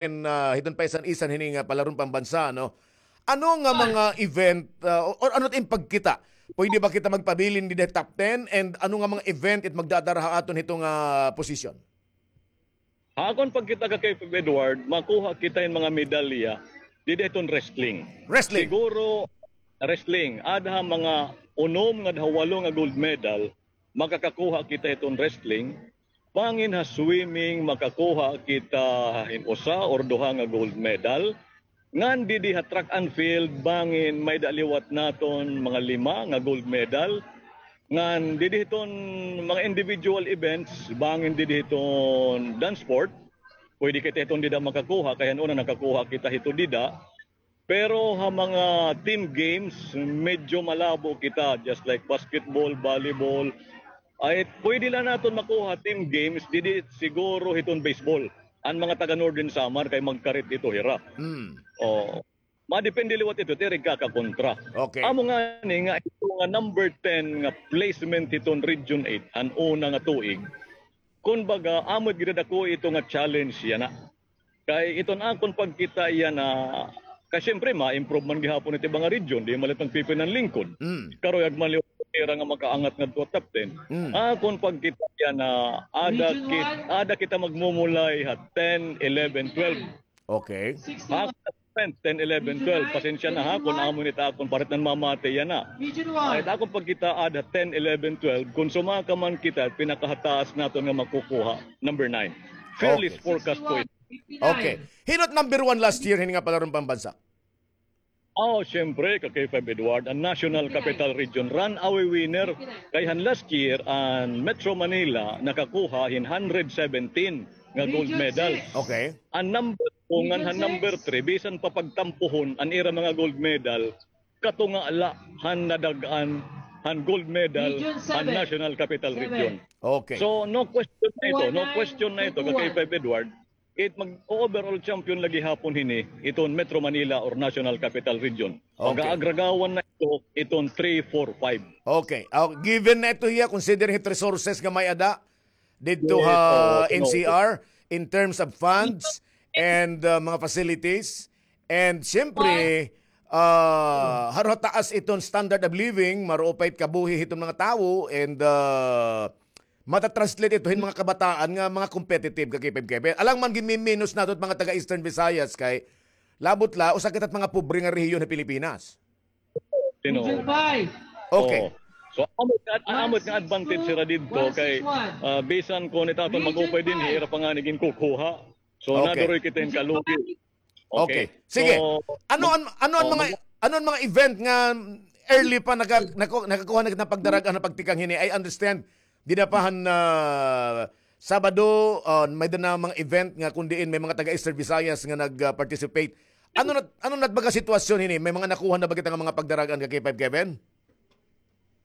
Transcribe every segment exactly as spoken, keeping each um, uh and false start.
ah, hiton paisan-isan hini nga palaron pambansa, no? Ano nga mga event, ah, or, or ano it im pagkita? Pwede ba kita magpabilin dida ha top ten? And ano nga mga event it magdadara ha aton hito nga posisyon? Ha akon pagkita, Ka K five Edward, makuha kita hin mga medalya dida hiton wrestling. Wrestling. Siguro, wrestling. Ada ha mga unom ngada ha walo nga gold medal, makakakuha kita hiton wrestling. Bangin ha swimming, makakuha kita hin usa or duha nga gold medal. Ngan didi ha track and field, bangin may-ada liwat naton mga lima nga gold medal. Ngan didi hiton mga individual events, bangin didi hiton dance sport, pwede kita hiton dida makakuha, kay han una nakakuha kita hito dida. Pero ha mga team games, medyo malabo kita, just like basketball, volleyball. Ay, pwede la naton makuha team games, didi siguro hiton baseball. An mga taga Northern Samar kay magkarit ito hira. Hmm. O, madepende liwat ito, it ira igkakakontra. Okay. Amo ngani nga ito nga number ten nga placement hiton Region eight, an una nga tuig. Kun baga, amo it gidadako ito nga challenge yana. Kay iton akon pagkita yana, kay siyempre, ma-improve man gihapon it iba nga region, di man la it magpipinanlingkod. Mm. Karuyag man liwat ira nga makaangat ngadto ha top ten. Mm. Akon pagkita yana, ada Region kit-, one. Ada kita magmumulay ha ten, eleven, twelve. Okay. Sixty-one. Ha, ten, eleven, twelve. Pasensya na ha, kun amo ini it akon parit nan mamati yana. Region one. Ay, it akon pagkita ada ten, eleven, twelve. Kun sumaka man kita, pinakahataas naton nga makukuha, number nine. Fairly forecast ko ito. Okay. Hino it number one last year hini nga palaron pambansa? Oh, siyempre, Ka K five Edward, an National Capital Region, runaway winner. Kay han last year, an Metro Manila nakakuha hin hundred seventeen nga gold medal. Okay. An number two ngan han number three, bisan pa pagtampuhon an ira mga gold medal, katunga la han nadag-an han gold medal han National Capital Region. Okay. So, no question na ito, no question na ito, Ka K five Edward. It mag-overall champion la gihapon hini iton Metro Manila or National Capital Region. Okay. Pag-aagragawan na ito, iton three, four, five. Okay. Ah, given na ito hiya, considering it resources nga may-ada didto ha N C R in terms of funds and, ah, mga facilities. And siyempre, ah, haro ha taas iton standard of living, maruupay it kabuhi hiton mga tawo, and, ah, mata-translate ito hin mga kabataan nga mga competitive, Ka K five Kevin. Alang man ginmiminus nato it mga taga Eastern Visayas kay labot la, usa kita it mga pobre nga rehiyon ha Pilipinas. Sino? Region five. Okay. Oo. So, amo it nga, amo it nga advantage hira didto kay, ah, bisan kon it aton mag-upay dinhi, ira pa ngani ginkukuha. So, naduroy kita hin kalugi. Okay. Sige. So, ano an, ano an mga, ano an mga event nga early pa naka-, nako-, nakakuha na kita pagdarag-an nga pagtikang hini? I understand, dida pa han, ah, Sabado, ah, may-ada na mga event nga kun diin may mga taga Eastern Visayas nga nag, ah, participate. Ano na, ano na it baga sitwasyon hini? May mga nakuha na ba kita nga mga pagdarag-an, Ka K five Kevin?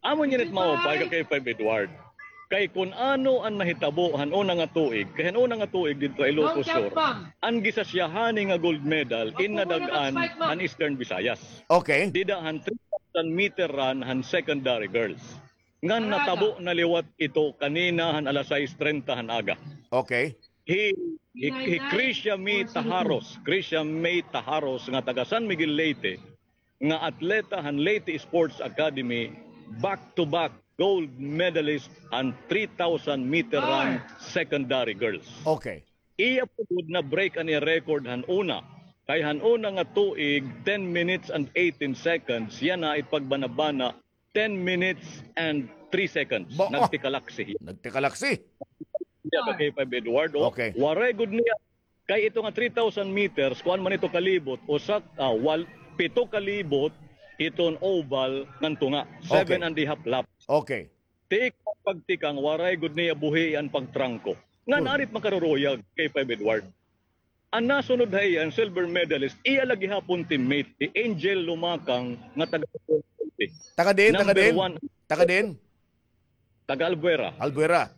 Amo niyan it maupay, Ka K five Edward. Kay kun ano an nahitabo han una nga tuig, kay han una nga tuig didto ha Ilocos Sur, an gisasiyahani nga gold medal in nadag-an han Eastern Visayas. Okay. Dida han three thousand meter run han secondary girls. Ngan natabo na liwat ito kanina han alas sais treinta han aga. Okay. Hi, hi, hi Krisha May Tajaros, Krisha May Tajaros nga taga San Miguel, Leyte, nga atleta han Leyte Sports Academy, back-to-back gold medalist han three thousand meter run secondary girls. Okay. Iya pa gud na-break an iya record han una. Kay han una nga tuig, ten minutes and eighteen seconds, yana it pagbanabana, ten minutes and three seconds. Ba, ah. Nagtikalaksi hiya. Nagtikalaksi. Hiya, Ka K five Edward, o. Okay. Waray gud niya. Kay ito nga three thousand meters, kuan man ito kalibot, usa, ah, wal-, pito kalibot, iton oval ngan tunga. Seven and a half laps. Okay. Tikang pagtikang, waray gud niya buhi an pagtrangko. Ngan ari it makaruruyag, Ka K five Edward. An nasunod ha iya, an silver medalist, iya la gihapon teammate, hi Angel Lumakang, nga taga Taga diin, taga diin? Number one. Taga diin? Taga Albuera. Albuera.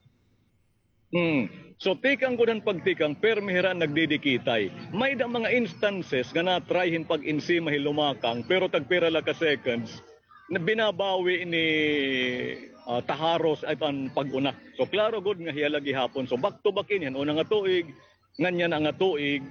Hmm. So, tikang gud han pagtikang, pirmi hira nagdidikitay. May-ada mga instances nga na-try hin pag-ensima hi Lumakang, pero tagpira la ka seconds, na binabawi ni, ah, Tajaros it an pag-una. So, klaro gud nga hiya la gihapon. So, back to back ini, han una nga tuig, ngan yana nga tuig,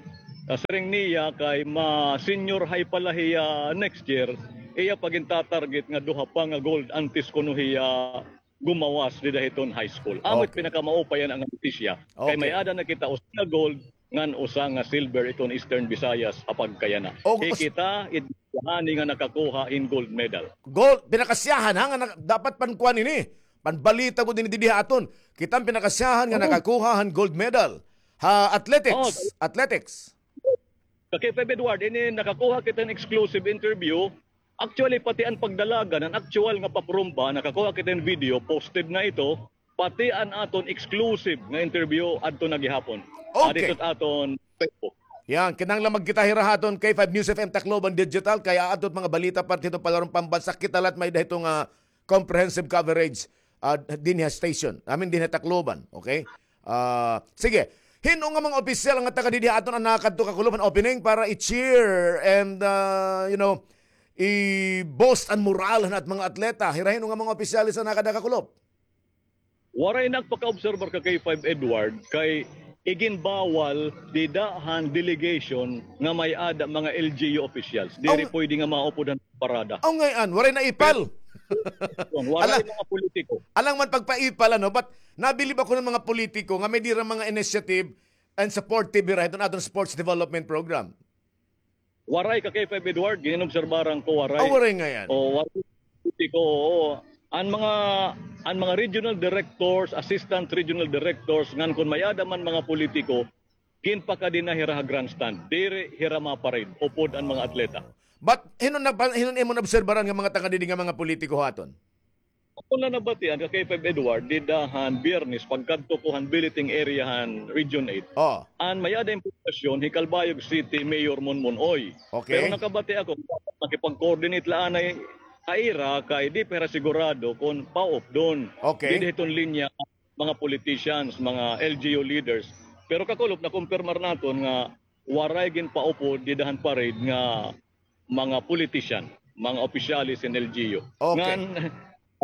Ah, siring niya kay ma-senior high pala hiya next year, iya pa gintatarget nga duha pa nga gold antes kuno hiya gumawas dida hiton high school. Amo it pinakamaupay yana nga notisya. Kay may-ada na kita usa nga gold ngan usa nga silver iton Eastern Visayas ha pagkayana. Hi kita it hani nga nakakuha hin gold medal. Gold, pinakasyahan ha nga dapat pankuan ini. Panbalita gud ini didi ha aton. Kita an pinakasyahan nga nakakuha han gold medal ha athletics. Athletics. Ka K five Edward, ini nakakuha kita hin exclusive interview. Actually, pati an pagdalagan, an actual nga paprumba, nakakuha kita hin video, posted na ito. Pati an aton exclusive nga interview adto na gihapon. Okay. Adto ha aton Facebook. Yan, kinahanglan magkita hira ha aton K five News F M Tacloban Digital, kay aadto it mga balita parte hiton palaron pambansa, kita la it may-ada hiton nga comprehensive coverage, ah, dinhi ha station. I mean, dinhi ha Tacloban, okay? Ah, sige. Hin-o nga mga opisyal nga taga didi ha aton an nakadto, Kakulop, han opening para i-cheer and, ah, you know, i-boost an moral han at mga atleta? Hira hin-o nga mga opisyalis an nakada, Kakulop? Waray nagpakaobserbar ka K five Edward, kay iginbawal dida han delegation nga may-ada mga L G U officials. Diri pwede nga maupod han parada. Aw, ngay-an, waray naipal. Waray mga politiko. Alang man pagpaipal, ano, but nabilib ako han mga politiko nga may-ada hira mga initiative and supportive hira hiton aton sports development program. Waray ka K five Edward, ginobserbaran ko, waray. Aw, waray ngay-an. O, waray politiko, oo. An mga, an mga regional directors, assistant regional directors, ngan kon may-ada man mga politiko, ginpakadi na hira ha grandstand. Diri hira ma-parade upod an mga atleta. But hin-o na, hin-o imo naobserbaran nga mga taga didi nga mga politiko ha aton? Ako na nabatian ka K five Edward, dida han Biyernes, pagkadto ko han billeting area han Region eight. An may-ada impormasyon, hi Calbayog City Mayor Monmon Oy. Okay. Pero nakabati ako, makipag-coordinate la anay ha ira kay di pa hira sigurado kon paupdon. Okay. Dida hiton linya mga politicians, mga L G U leaders. Pero, Kakulop, nakumpirmar naton nga waray ginpaupod dida han parade nga mga politician, mga opisyales hin L G U. Okay. Ngan,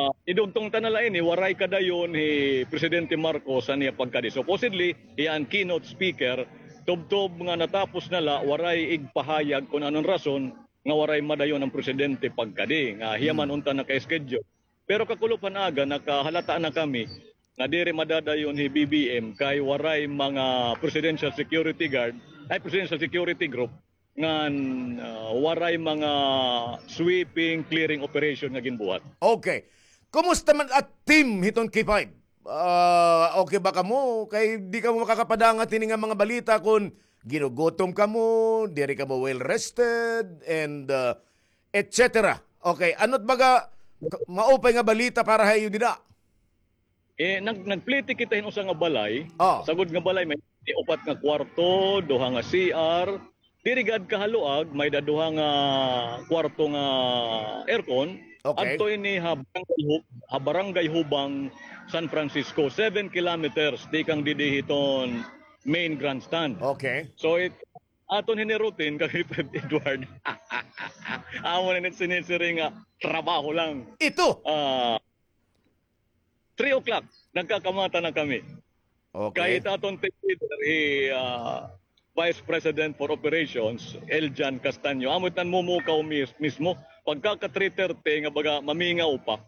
ah, idugtong ta na la ini, waray kadayon hi Presidente Marcos han iya pagkadi. Supposedly, hiya an keynote speaker, tubtob nga natapos na la, waray igpahayag kon ano an rason nga waray madayon an presidente pagkadi, nga hiya man unta naka-schedule. Pero, Kakulop, han aga, nakahalata na kami nga diri madadayon hi B B M kay waray mga presidential security guard, ay, presidential security group, ngan, ah, waray mga sweeping, clearing operation nga ginbuhat. Okay. Kumusta man an team hiton K five? Ah, okay ba kamo? Kay di kamo makakapadangat hini nga mga balita kon ginugutom kamo, diri kamo well rested, and, ah, et cetera. Okay, ano it baga k-, maupay nga balita para ha iyo dida? Eh, nag-, nagplete kita hin usa nga balay. Oh. Sagod nga balay, may upat nga kwarto, duha nga C R. Diri gad kahaluag, may-ada duha nga kwarto nga aircon. Okay. Adto ini ha Barangay Hu-, ha Barangay Hubang, San Francisco, seven kilometers tikang didi hiton main grandstand. Okay. So, it, aton hini routine, ka K five Edward. Amo na it sinisiring nga trabaho lang. Ito. Ah, three o'clock, nagkakamata na kami. Okay. Kay it aton team leader, hi, ah, Vice President for Operations, Eljan Castaño. Amo it nanmumukaw mis-, mismo. Pagkaka three thirty nga baga mamingaw pa,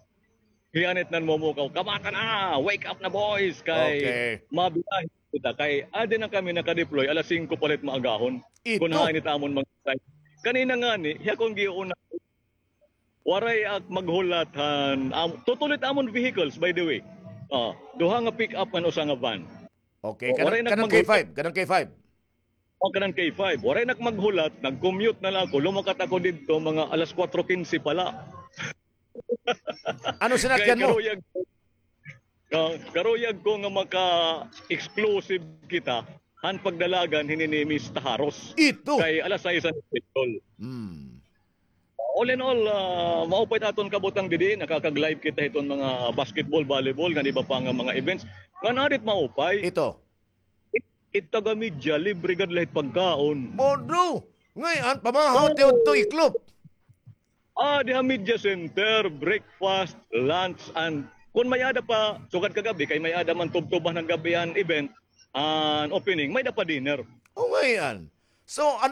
hiya it nanmumukaw, "Kamata na! Wake up na, boys!" Kay mabiyahe kita. Kay adi na kami naka-deploy, alas singko pa la it maagahon. Ito. Kun hain it amon mga site. Kanina ngani, hiya kon giuna, waray ak maghulat han, am-, tutulo it amon vehicles, by the way. Ah, duha nga pick-up ngan usa nga van. Okay, kanang, kanang K five, kanang K five. O, kanang K five. Waray nak maghulat, nag-commute na la ako, lumakat ako didto, mga alas kuwatro kinse pa la. Ano sinakyan mo? Kay karuyag, ah, karuyag ko nga maka-explosive kita han pagdalagan hini ni Miss Taharos. Ito. Kay alas sais an schedule. Hmm. All in all, ah, maupay it aton kabutang didi, nakakag-live kita hiton mga basketball, volleyball, ngan iba pa nga mga events. Ngan adi it maupay. Ito. It, it taga-media, libre gad la it pagkaon. Bodo! Ngay-an, pamahaw, tiudto, iklop. Ah, diha media center, breakfast, lunch, and kun may-ada pa, sugad kagab-i, kay may-ada man tubtuban han gab-i an event, an opening, may-ada pa dinner. O, ngay-an. So, ano